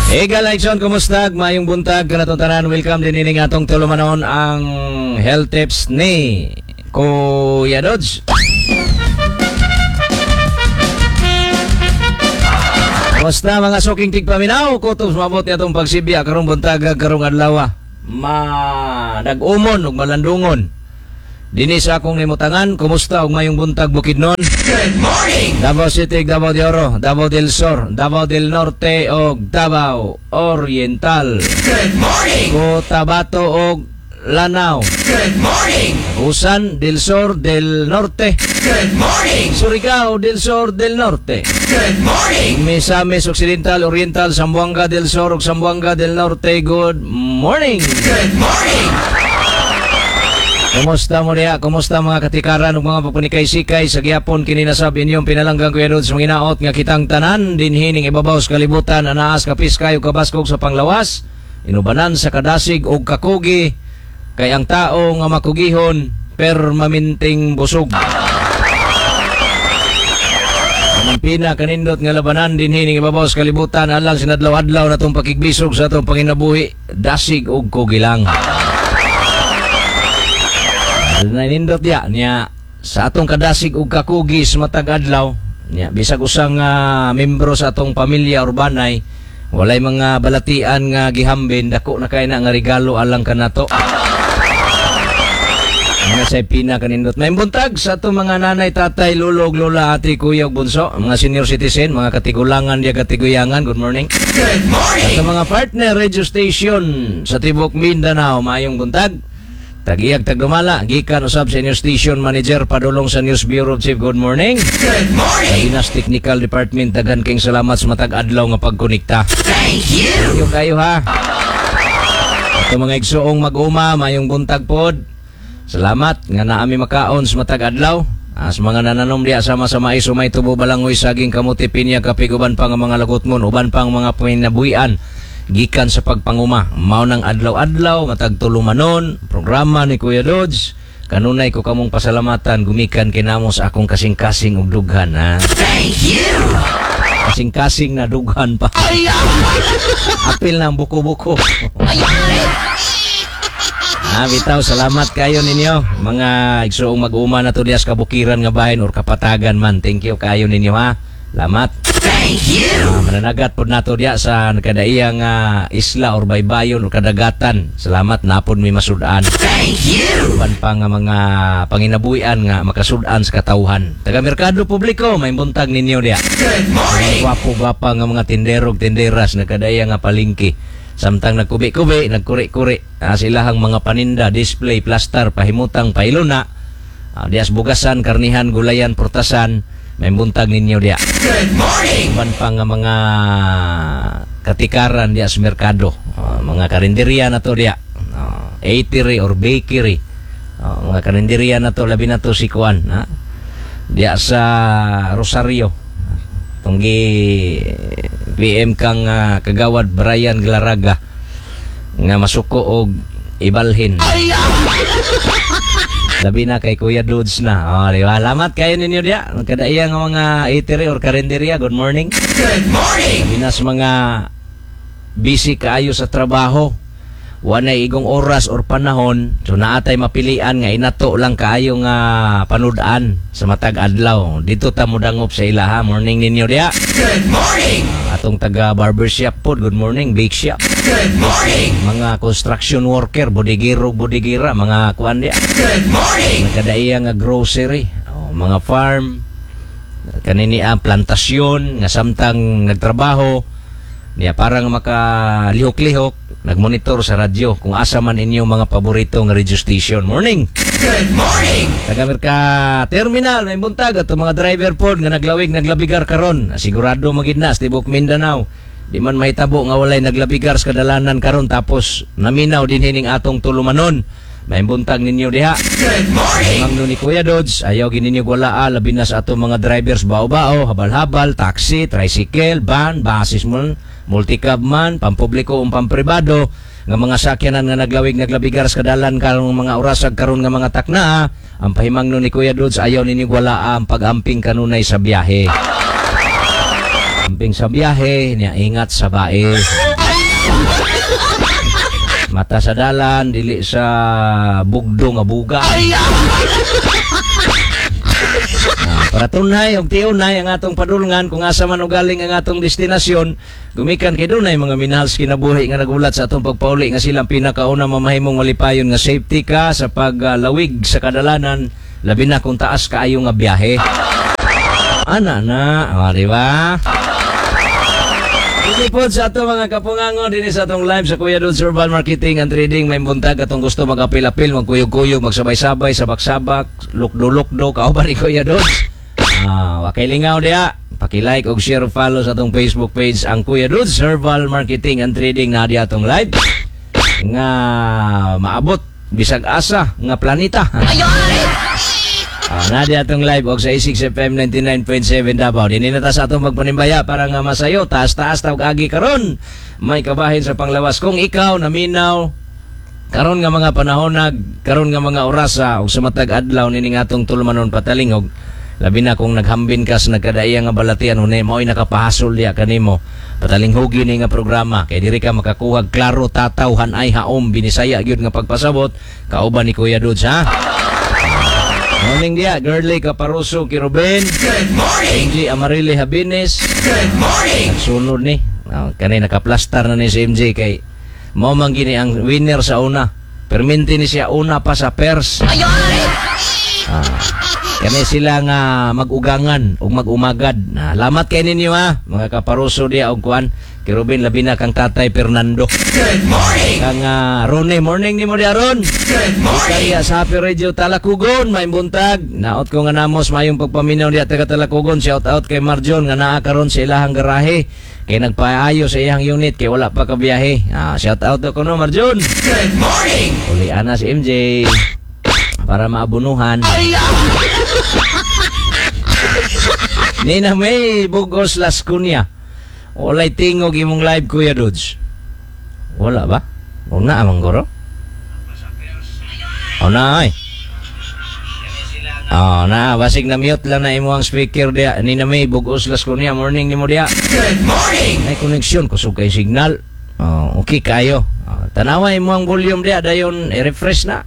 Ega Laikson, kumusta? Mayong buntag kanatong tanan. Welcome din ining atong tulumanon, ang health tips ni Kuya Dodge. Kumusta, mga suking tigpaminaw? Kutob mabot ni atong pagsibya karong buntaga, karong adlaw. Ma nag-umon ug malandungon. Dinhi sa akong limutangan, kumusta ug mayong buntag, Bukidnon? Good morning! Davao City, Davao de Oro, Davao del Sur, Davao del Norte ug Davao Oriental. Good morning! Cotabato ug Lanao. Good morning! Usan del Sur del Norte. Good morning! Surigao del Sur del Norte. Good morning! Misamis Occidental, Oriental, Zamboanga del Sur ug Zamboanga del Norte. Good morning! Good morning! Kumusta mo diha? Kumusta, mga katikaran ug mga papunikay-sikay sa gihapon kini nasab inyong pinalanggang Kuya Dudes, manginaot nga kitang tanan dinhi ning ibabaw sa kalibutan anaas kapis kayo kabaskog sa panglawas, inubanan sa kadasig ug kakugi, kay ang tao nga makugihon permaminting busog. Ang pina kanindot nga labanan dinhi ning ibabaw sa kalibutan alang sinadlaw-adlaw na tong pakigbisog sa atong panginabuhi, dasig ug kugi lang. Nanindot ya niya sa atong kadasig ug kakugi sa matag adlaw niya, bisag usang membro sa atong pamilya or banay walay mga balatian nga gihambin, dako na kay na nga regalo alang kanato. Mga sa pina kanindot. May buntag sa atong mga nanay, tatay, lolo, ug lola, ate, kuya, ug bunso, mga senior citizen, mga katigulangan diya, katiguyangan, good morning. Good morning! At mga partner radio station sa tibok Mindanao, maayong buntag. Tagiyag tagdumala, gikan usab sa inyong station manager padulong sa News Bureau Chief, good morning. Good morning! Sa Technical Department, daghan kayong salamat sa matag adlaw nga pagkonekta. Thank you! Thank you kayo ha. Ato mga igsuong mag-uma, mayong buntag pod. Salamat nga naami makaon sa matag adlaw. Sa mga nananom diya sama sa mais, umay, tubo, balangoy, saging, kamuti, pinya, kapig, uban pang mga lagotmon, uban pang mga pinabuhian gikan sa pagpanguma. Mao nang adlaw-adlaw, matag tulumanon, programa ni Kuya Dodge. Kanunay ko kamong pasalamatan gumikan kinamo sa akong kasing-kasing ug dughan ha. Thank you! Kasing-kasing na dughan pa. Apil na ang buko-buko. Ah, bitaw, salamat kayo ninyo. Mga igsuong mag-uma na to diya sa kabukiran nga bahin or kapatagan man. Thank you kayo ninyo ha. Salamat. Thank you! Mananagat pod nato diya sa kadaiyang isla or baybayon or kadagatan. Salamat napod mi masud-an. Thank you! Uban pa nga mga panginabuhian nga makasud-an sa katawhan. Taga merkado publiko, may buntag ninyo diya. Good morning! Gwapo-gwapa nga mga tindero ug tinderas nagkadaya nga palengke. Samtang nagkubi-kubi, nagkuri-kuri, silahang mga paninda, display, plaster, pahimutang, pailuna. Dias bugasan, karnihan, gulayan, prutasan, may buntag ninyo diya. Good morning! Uban pa nga mga katikaran diya sa merkado. Mga karinderya na to diya. Eatery or bakery. Mga karinderya na to, labi na to si Kuan. Ha? Diya sa Rosario. Tunggi PM kang kagawad Brian Glaraga nga masuko og ibalhin. Labi na kay Kuya Dudes na. Oh, di ba? Salamat kayo ninyo diya. Kadaiya nga mga eatery or karinderya. Good morning. Good morning! Labi na sa mga busy kaayo sa trabaho. Wanay igong oras or panahon, so naatay mapilian nga inato lang kaayo nga panud-an sa matag adlaw. Dito ta modangop sa ilaha. Morning ninyo diya. Good morning! Atong taga barbershop pod, good morning, bake shop. Good morning! Mga construction worker, bodigero, bodigira, mga kuan diya. Good morning! Nagkadaiya nga grocery, oh, mga farm, kanini ang plantasyon nga samtang nagtrabaho niya parang makalihok-lihok nagmonitor sa radyo kung asa man inyong mga paborito nga radio station. Morning. Good morning! Taga Merka Terminal, may buntag ato mga driver pod nga naglawig naglabigar karon. Sigurado magid na sa tibok Mindanao. Di man mahitabo nga walay naglabigar sa kadalanan karon tapos naminaw din hining atong tulumanon. May buntag ninyo diha. Good morning! Mangno ni Kuya Dodge, ayaw gini ninyo walaa, labi na sa atong mga drivers bao-bao, habal-habal, taxi, tricycle, van, buses man, multicab man, pampubliko o pampribado, nga mga sakyanan nga naglawig naglabigar sa kadalan karong mga orasag karon nga mga takna, ang pahimangno ni Kuya Dodge, ayaw ninyo walaa ang pag-amping kanunay sa biyahe. Amping sa biyahe, niya ingat sa bae. Mata sa dalan, dili sa bugdo nga buga. Ah, para tunay og tiunay ang atong padulngan kung asa man ugaling ang atong destinasyon, gumikan kay dunay mga minahal sa kinabuhi nga nagulat sa atong pagpauli nga silang pinakauna mamahimong malipayon nga safety ka sa paglawig sa kadalanan, labi na kung taas kaayo nga biyahe. Ana na, ah, di ba? Hindi po sa ato mga kapungango din sa atong live sa Kuya Dudes Herbal Marketing and Trading. May buntag atong gusto magapil-apil, magkuyog-kuyog, magsabay-sabay, sabak-sabak, lukdo-lukdo, kauban ni Kuya Dudes. Ah, wakay lingaw diya. Paki-like og share, follow sa atong Facebook page ang Kuya Dudes Herbal Marketing and Trading na diya atong live nga maabot bisag asa nga planeta. Ah, na di atong live og sa A6 FM 99.7 Davao. Dinhi na ta sa atong magpanimbaya para nga masayo, taas-taas tawag agi karon. May kabahin sa panglawas kung ikaw naminaw karon nga mga panahonag, karon nga mga orasa og sa matag adlaw nining atong tulumanon patalingog. Labi na kung naghambin ka sa nagkadaiya nga balatian hunay mao'y nakapahasol diya kanimo. Patalinghugi ni nga programa kay diri ka makakuha klaro, tataw, hanay, haom, Binisaya gyud nga pagpasabot kauban ni Kuya Dudes, ha. Morning dia, Girly Caparuso Kiruben. Good morning. MJ Amarile Habines. Good morning. Nagsunod ni. Oh, kani nakaplastar na ni si MJ kay mao man gini ang winner sa una. Perminti ni siya una pa sa pers. Ah, kani sila nga mag-ugangan ug mag-umagad. Ah, lamat kay ninyo ha, mga kaparuso diya og kuan. Kirubin, labi na kang Tatay Fernando. Good morning. Kang Rone, morning nimo diya Ron. Good morning. Kaya sa Happy Radio Talakugon, may buntag. Naot ko nga namos mayong pagpaminaw diya taga Talakugon. Shout out kay Marjon nga naa karon sa ilahang garahe. Kay nagpaayo sa iyang unit kay wala pa kabiyahe. Ah, shout out ko no Marjon. Good morning. Uli ana si MJ para maabunuhan. Nina May Bugos Las Cunia. Walay tingog imong live, Kuya Dudes. Wala ba? O na amang guro? O na ay. Oh, na basig na mute lang na imo ang speaker diya. Nina May Bugos Las Cunia, morning nimo diya. Good morning. May connection kusog kay signal. Oh, okay kayo. Oh, tanawa imo ang volume diya, dayon i-refresh na.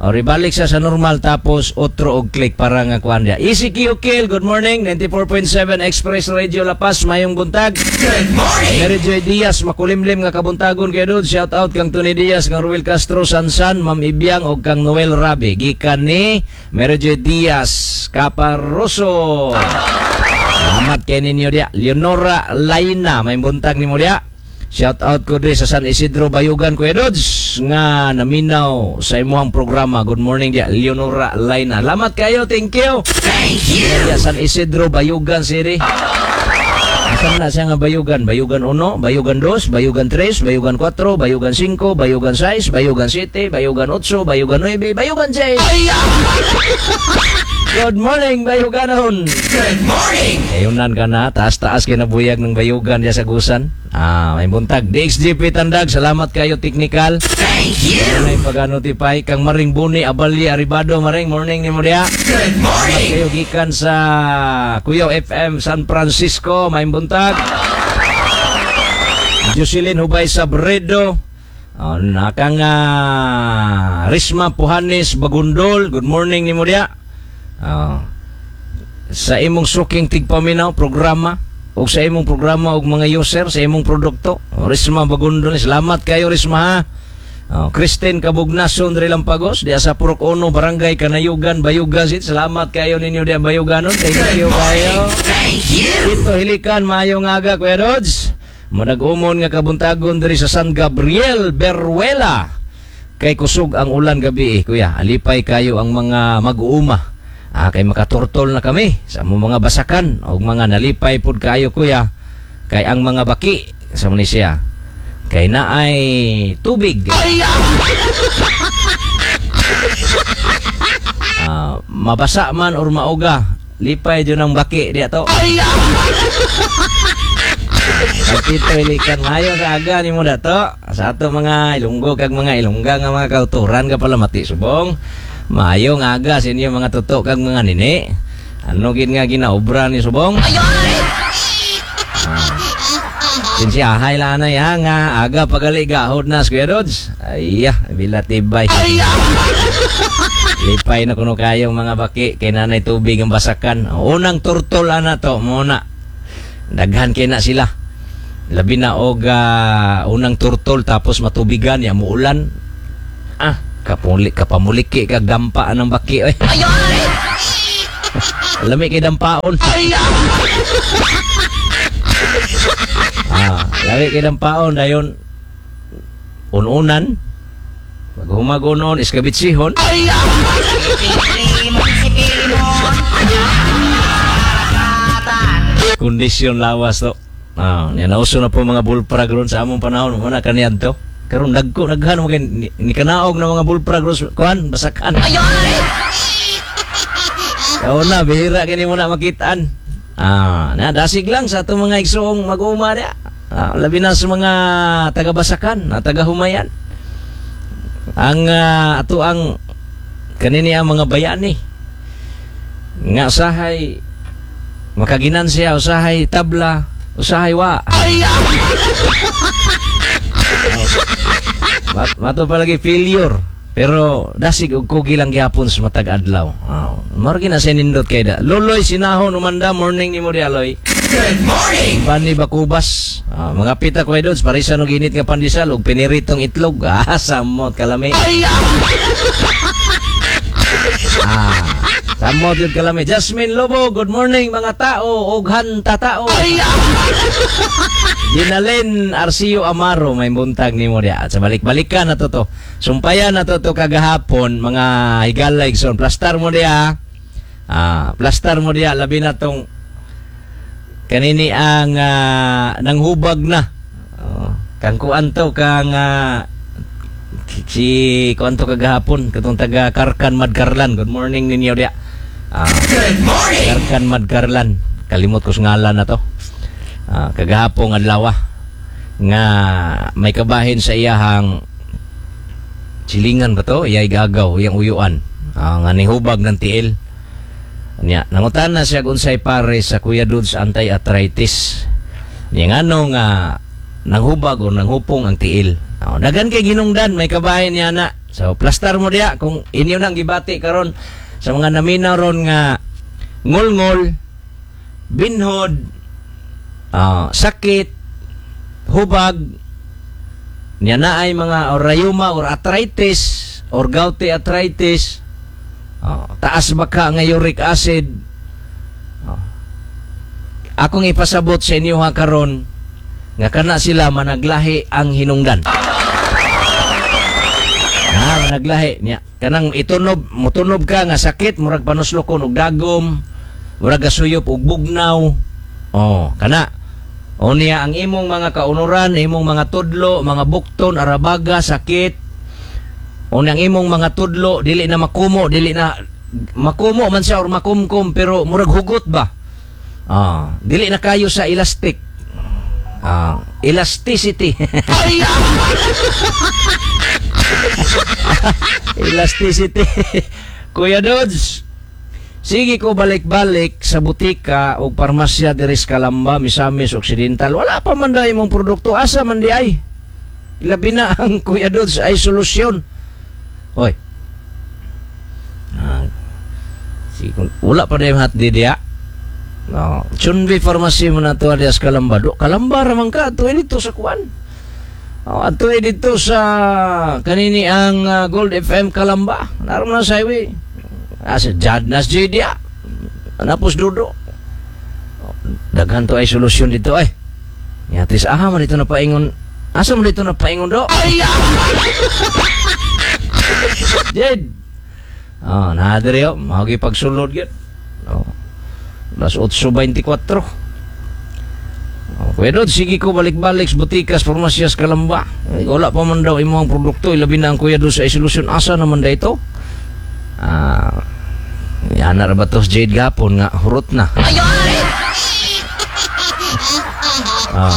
O, ribalik sa normal tapos otro og click para nga kuan diya. ECQ Kill, good morning. 94.7 Express Radio La Paz, mayong buntag. Good morning. Mary Joy Diaz, makulimlim nga kabuntagon kay Dude. Shout out kang Tony Diaz, kang Ruel Castro, Sansan, Ma'am Ibiang og kang Noel Rabi. Gikan ni Mary Joy Diaz Caparoso. Salamat kay ninyo diya. Leonora Laina, may buntag nimo diya. Shout out ko diri sa San Isidro Bayugan, Kuya Dudes, nga naminaw sa imuhang programa. Good morning diya, Leonora Laina. Salamat kayo, thank you. Thank you. Diya San Isidro Bayugan City. Asan na siya nga Bayugan? Bayugan 1, Bayugan 2, Bayugan 3, Bayugan 4, Bayugan 5, Bayugan 6, Bayugan 7, Bayugan 8, Bayugan 9, Bayugan 6. Good morning, Bayuganon. Good morning. Ayunan ka na, taas-taas kinabuyag ng Bayugan diya sa Gusan. Ah, may buntag. DXGP Tandag, salamat kayo technical. Thank you. Ano yung pag-notify kang Maring Buni, Abali, Aribado, Maring, morning ni mo diya. Good morning. Kayo gikan sa Kuyaw FM San Francisco, may buntag. Jocelyn Hubay Sabredo. Oh, nakang Risma Puhanes Bagundol, good morning ni mo diya. Oh, sa imong suking tigpaminaw programa o sa imong programa og mga user sa imong produkto. Oh, Risma Bagundol, salamat kayo Risma ha. Oh, Kristen Kabugnason diri Lampagos diya sa Purok Uno, Barangay Kanayugan, Bayugan City. Salamat kayo ninyo diya Bayuganon. Thank you kayo. Thank you. Dito hilikan, maayong aga Kuya Rods. Manag-umon nga kabuntagon diri sa San Gabriel, Beruela. Kay kusog ang ulan gabi eh, kuya. Alipay kayo ang mga mag-uuma. Ah, kay makaturtol na kami sa among mga basakan og mga nalipay pud kayo kuya. Kay ang mga baki sa Malaysia kay naay tubig. Ah, mabasa man or mauga, lipay dyan ang baki diya to. Pagkito ilikan mayo sa aga ni mo dato. Sa ato mga Ilonggo kag mga Ilongga nga mga kauturan ka pala mati subong. Mayo nga aga sa inyo mga tuto kag mga nini. Ano gid nga ginaobra ni subong? Sinsya, hay lang na ya nga aga pagali gahod na Kuya Dodge. Ay, bila tibay. Lipay na kuno kayong mga baki kay nanay tubig ang basakan. Unang turtol ana to muna. Daghan kay na sila. Labi na og unang turtol tapos matubigan ya muulan. Ah, kapuli kapamuliki kag dampa anang baki oy. Lami kay dampaon. Ah, lami kay dampaon dayon ununan. Maghumagonon iskabitsihon. Kondisyon lawas to. Ah, niya nauso na po mga bullfrog ron sa among panahon, wala kaniadto to. Karon dagko daghan mo kay ni kanaog na mga bullfrog ron kuan basakan. Kaon na bihira kini mo na makitaan. Ah, na dasig lang sa atong mga igsoong mag-uma dia. Ah, labi na sa mga taga-Basakan, na taga-Humayan. Ang ato ang kanini ang mga bayani nga usahay makaginansiya, usahay tabla, usahay wa. Mato palagi failure. Pero dasig og kugi lang gyapon sa matag adlaw. Oh, mao ra na sa nindot kay da. Loloy sinahon umanda morning nimo di aloy. Good morning. Pani Bakubas. Ah, mga pita ko Dods, parisa no ginit nga pandesal og piniritong itlog. Ah, samot kalami. Ah, samot yun kalami. Jasmine Lobo, good morning mga tao og hanta tao. Dinalin Arcio Amaro, may buntag nimo diya. At sa balik-balikan na to to. Sumpayan na to to kagahapon, mga higala igsoon. Plastar mo diya. Ah, plastar mo diya labi na tong kanini ang nanghubag na. Oh, kang kuan to kang si kuan to kagahapon katong taga Karkan Madkarlan. Good morning ninyo diya. Ah, Good morning. Karkan Madkarlan. Kalimot ko sa ngalan na to. Ah, kagahapon adlaw nga may kabahin sa iyahang silingan ba to? Iyay gagaw, iyang uyuan. Ah, nga nihubag ng tiil. Nya, nangutan na siya unsay pare sa Kuya Dudes anti-arthritis. Niya ngano nga nanghubag o nanghupong ang tiil. Oh, dagan kay ginungdan, may kabahin niya na. So, plastar mo diya kung inyo nang gibati karon sa mga naminaw ron nga ngulngol, binhod, sakit, hubag, niya na ay mga or rayuma or arthritis or gouty arthritis, oh, taas baka nga uric acid. Oh. Akong ipasabot sa inyo ha karon nga kana sila managlahi ang hinungdan. Ah, managlahi niya. Kanang itunob, mutunob ka nga sakit, murag panuslokon og dagom, murag gasuyop og bugnaw. Oh, kana. O niya ang imong mga kaunuran, imong mga tudlo, mga bukton, arabaga, sakit. O niya ang imong mga tudlo, dili na makumo, dili na makumo man siya or makumkum pero murag hugot ba? Ah, dili na kayo sa elastic. Ah, elasticity. Elasticity. Kuya Dodge, sige ko balik-balik sa butika o parmasya diri sa Calamba, Misamis Occidental. Wala pa man dai imong produkto. Asa man di ay? Labi na ang Kuya Dodge ay solusyon. Hoy. Ah, sige, wala pa dai hat di diya. No, Chunbi Pharmacy mo na to alias Calamba. Do, Calamba ra man ka ato dito sa kuan. Oh, ato dito sa kanini ang Gold FM Calamba. Naroon na sa highway. Ah, sa Jadnas J diya. Napos dudo. Oh, daghan to ay solusyon dito ay. Yatis aha man dito na paingon. Asa man dito na paingon do? Jed. Oh, na diri oh, mao gi pagsulod gyud. Oh. Las 8:24. Oh, Kuya Dod, sige ko balik-balik sa butikas, farmasyas, Calamba. Ay, wala pa man daw imong produkto, ilabi na ang Kuya Dod sa solusyon. Asa naman da ito? Ah, yan na ba to Jade gapon nga hurot na. Ah.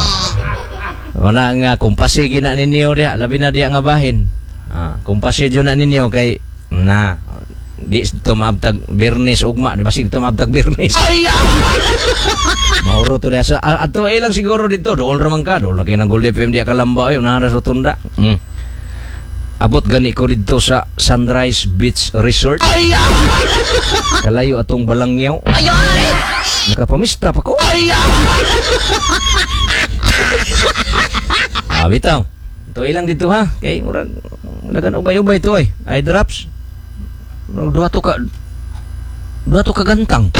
Wala nga kumpasi gina ninyo diha, labi na diha nga bahin. Ah, kumpasi jud na ninyo kay na di ito maabtag Birnes ugma, di ba sige ito maabtag Birnes. Mahurot to sa ato ay lang siguro dito. Dool ra man ka. Dool na kay ng Gold FM diya Kalamba ay unahan ra sa tunda. Abot gani ko dito sa Sunrise Beach Resort. Kalayo atong Balangyaw. Nakapamista pa ko. Ah, bitaw. Ito ilang dito ha. Kay murag dagan ubay-ubay to ay. Eye drops. Murag duha to ka gantang.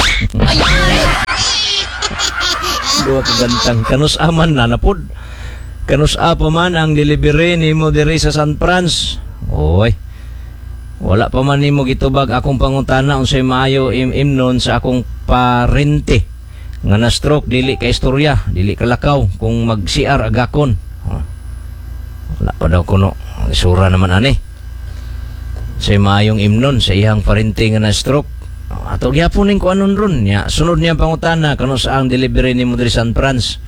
Duha ka gantang. Kanus aman na napod. Kanus pa man ang delivery nimo diri sa San Franz. Oy. Wala pa man nimo gitubag akong pangutana unsay maayo imnon sa akong parente nga na stroke, dili ka istorya, dili ka lakaw kung mag CR agakon. Wala pa daw kuno. Isura naman ani. Say maayong imnon sa iyang parente nga na stroke. Ato gyapon ning kuanon ron nya. Sunod niya pangutana kano sa ang delivery nimo diri San Franz.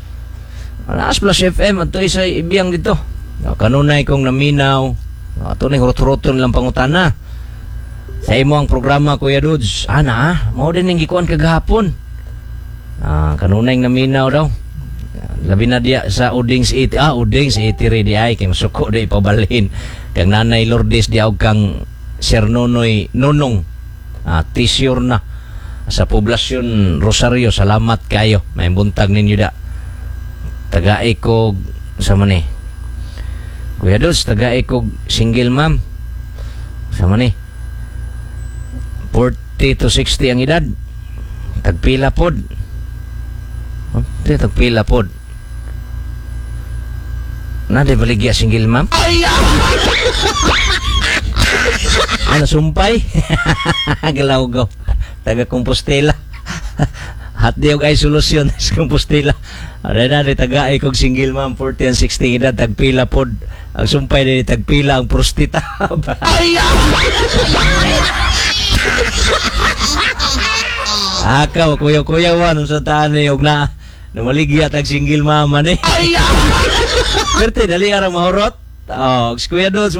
Naas Plus FM ato isa ibiyang dito. Kanunay kong naminaw. Ato ning hurot-huroton lang pangutana. Sa imo ang programa, Kuya Dudes. Ana, mao din ning gikuan kagahapon. Kanunay naminaw daw. Labi na diya sa Udings 80. Udings 80 rin di ay kay masuko di pabalhin. Kang Nanay Lourdes di og kang Sir Nonoy Nonong. Tisyor na sa poblasyon Rosario. Salamat kayo. May buntag ninyo da. Tagai ko sa man. Kuya Dudes, tagai ko single ma'am. Sa man. 40 to 60 ang edad. Tagpila pod. Oh, tagpila pod. Na di baligya single ma'am? Ano sumpay? Galaw go. Taga Compostela. Hat di og ay solusyon sa Compostela. Ano na di taga kog single ma'am 40 and 60 edad tagpila pod. Ang sumpay di tagpila ang prostita. Akaw kuya-kuya wan sa taan ni og na namaligya tag single mama ni. Perte dali ara mahurot. Oh, Kuya Dudes.